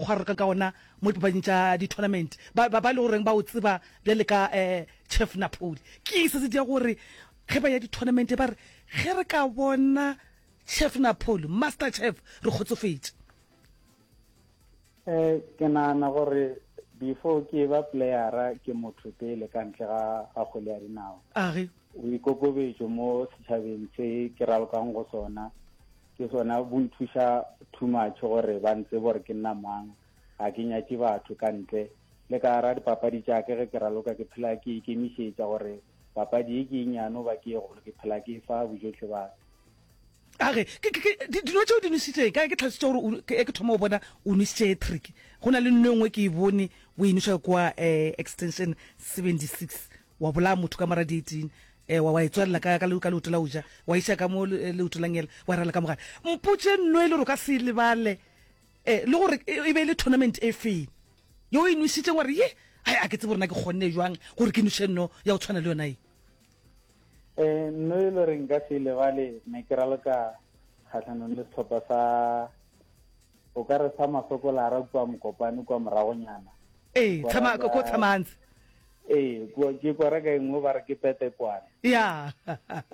mokgwa a ralokang ka gona mo dipapading tša di-tournament, ba, ba, ba e le goreng ba o tseba bjale ka um Chef Napoli. Ke eng se se dia gore ge ba ya di-tournament ba re ge re ka bona Chef Napoli, Master Chef, re kgotsofetše? Eh, ke nagana gore before ke ba playera ke motho pele ka ntle ga ga kgwele ya dinao. Age. Boikokobetšo mo setšhabeng se ke ralokang go sona ke sona bo nthuša too much gore ba ntsebe gore ke nna mang, ga ke nyatše batho ka ntle. Le ka gara dipapadi tša ke ge ke raloka ke phela ke ikemišetša gore papadi ye ke e nnyane goba ke e golo ke phela ke e fa bojohle ba ka. A re, Ke, ke, ke, di, dino tše o di nwešitšeng, ka ge ke tlhalositše gore o, ke, ke thoma go bona o nwešitše trick. Go na le nno e nngwe ke e bone o e nweša kua eh, extension 76, wa bolaya motho ka mora dietini, eh, wa, wa e tswalela ka, ka, ka leoto la go ja, wa iša ka mo le, leoto la ngele, wa rala ka mogare. Mpotše nno e le gore o ka se e lebale, eh, le gore e, e be e le tournament e feng ye o e nwešitšeng, wa re, Ye, ai, a ke tsebe gore na ke kgonne bjang gore ke nweše nno ya go tshwana le yona ye. Eh, nno e le gore nka se lebale ne ke raloka kgatlhanong le setlhopha sa o ka re sa masokolara kua mokopane kua moragonyana ee tshama ko tshamantse ee ke kwara ka engwe ba re ke petekwane ya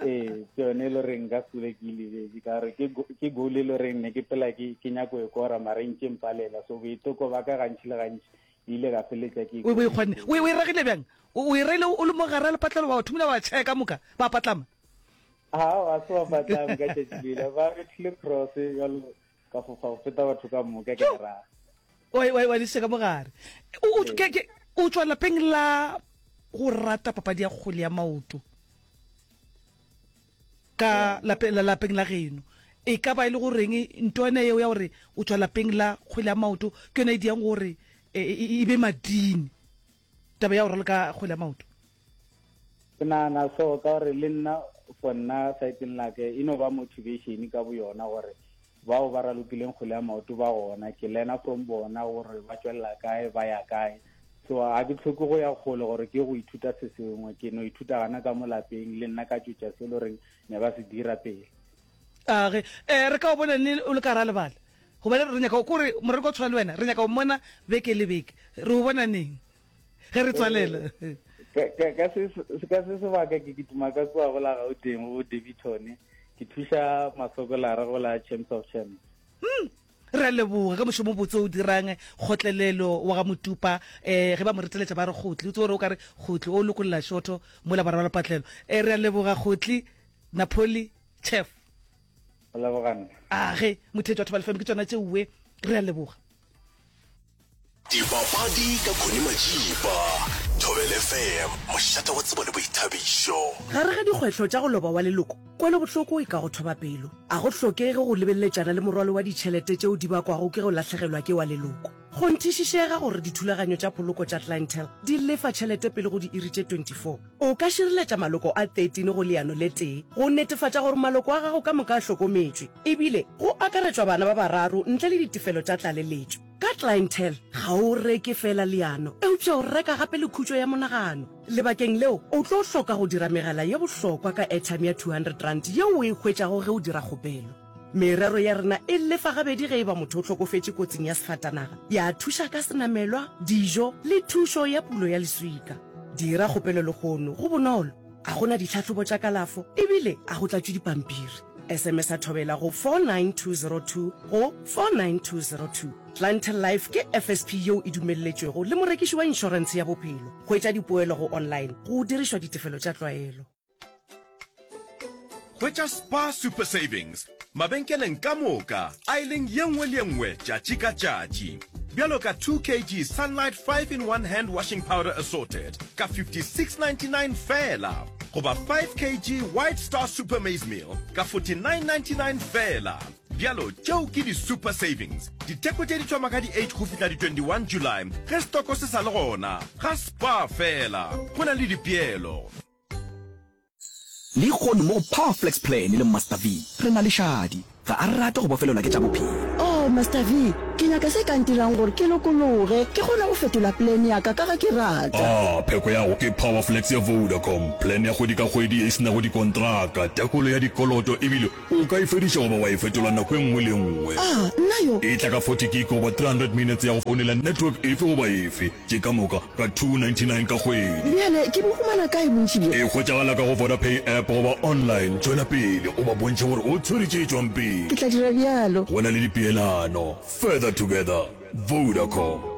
ee ke yone e le goreng nka sule ke lebetse ka gore ke goal e le goreng ne ke phela ke nyako e kora mara e ntše mpalela so boiteko ba ka gantši le gantši ile ka feletša ke o e kgonne o e ragile bjang o e reile o le mo gare a lepatlelo wa thomile wa tšhaya ka moka ba patlama a se ba patlama ka tšatši lela ba bethile cross jalo ka fofa go feta batho ka moka ke raga wa diša ka mogare o tšwa lapeng la go rata papadi ya kgwele ya maoto Ka lapeng la lapeng la geno. E ka ba e le go reng ntwana yeo ya gore o tšwa lapeng la kgwele ya maoto ke yona e diang gore e, e, e be madini taba ya go raloka kgwele ya maoto? Ke nagana so ka gore le nna for nna saeteng la ke e no ba motivation ka boyona gore bao ba ralokileng kgwele ya maoto ba gona ke learna from bona gore ba tšwelela kae ba ya kae so ga ke tlhoke go ya kgole gore ke go ithuta se sengwe ke no ithuta gana ka mo lapeng le nna ka tšwetša se le goreng ne ba se dira pele a ge um re ka o bona ne o le ka ra lebala gobane re nyaka kore morero o tshwana le wena re nyaka go mmona beke le beke re o bona neng ge re tswalela ka se sebaka ke kitima ka kua go la gauteng go Daveyton ke thuša masokolara go la champs of champs hmm. re a leboga ka mošomo botse o dirang kgotlelelo wa ga motupa um ge ba mo reteletša ba re kgotli o tse gore o ka re kgotli o lokolola šotho mola ba rwala patlelo um re a leboga kgotli napoli chef age motheetši wa thobale fm ke tsona tšeuwe re a leboga Dipapadi ka Connie Majiba, Thobela FM, mošate wa tsebo le boithabišo. Gare ga dikgwetlho tša go loba wa leloko, kwelobohloko e ka go thoba pelo. A go hlokege go lebeletšana le morwalo wa ditšhelete tšeo di bakwago ke go lahlegelwa ke wa leloko. Kgonthišišega gore dithulaganyo tša poloko tša Clientele di lefa tšhelete pele go diiri tše 24. O ka šireletša maloko a 13 go leano le tee go netefatša gore maloko a gago ka moka a hlokometšwe, ebile go akaretšwa bana ba bararo ntle le ditefelo tša tlaleletšo. Ka Clientele, ga o reke feela leano, eupša o reka gape le khutšo ya monagano. Lebakeng leo, o tlo hloka go dira megala ye bohlokwa ka airtime ya R200 yeo o e hwetšago ge o dira kgopelo. Merero ya rena e lefa gabedi ge e ba motho o hlokofetše kotsing ya sefatanaga, ya thuša ka senamelwa, dijo le thušo ya pulo ya leswika. Dira kgopelo lehono, go bonolo, ga go na ditlhahlobo tša kalafo ebile ga go tlatšwe dipampiri. SMS-a Thobela go 49202 go 49202. Clientele Life ke FSP yeo e dumelletšwego le morekiši wa inšorentshe ya bophelo. Hwetša dipoelo go online go dirišwa ditefelo tša tlwaelo. Hwetša Spar Super Savings mabenkeleng ka moka aeleng ye nngwe le ye nngwe tšatši ka tšatši. Bjalo ka 2 kg Sunlight 5 in 1 Hand Washing Powder Assorted ka 56.99 feela goba 5 kg White Star Super Maize Meal ka 49.99 feela. Bjalo tšeo ke di-super savings. Ditheko tše di thoma ka di 8 go fihla di 21 July ge setoko se sa le gona. Ga Spar feela go na le dipeelo. Lehono mo go Power Flex Plan le Master V re na le Shadi. Ga a rate go bofelelwa ke tša bophelo. Oh, Master V! Ke nyaka se ka ntirang gore ke lokologe, ke kgone go fetola plan ya ka ka ge ke rata. A Pheko ya go ke Power Flex ya Vodacom, plan ya kgwedi ka kgwedi ye e se nago dikontraka, tekolo ya dikoloto ebile o ka e fediša goba wa e fetola nako e nngwe le e nngwe. A Nna yo. E tla ka 40 gig goba 300 minutes ya go founela network efe goba efe. Tše ka moka ka 299 ka kgwedi. Bjale ke bo humana kae bontši bjo? E hwetšagala ka go Vodapay app goba online. Tšwela pele o ba bontšhe gore o tshwere tše tšwang pele. Ke tla dira bjalo. Go na le dipeelano. Further together. Vodacom.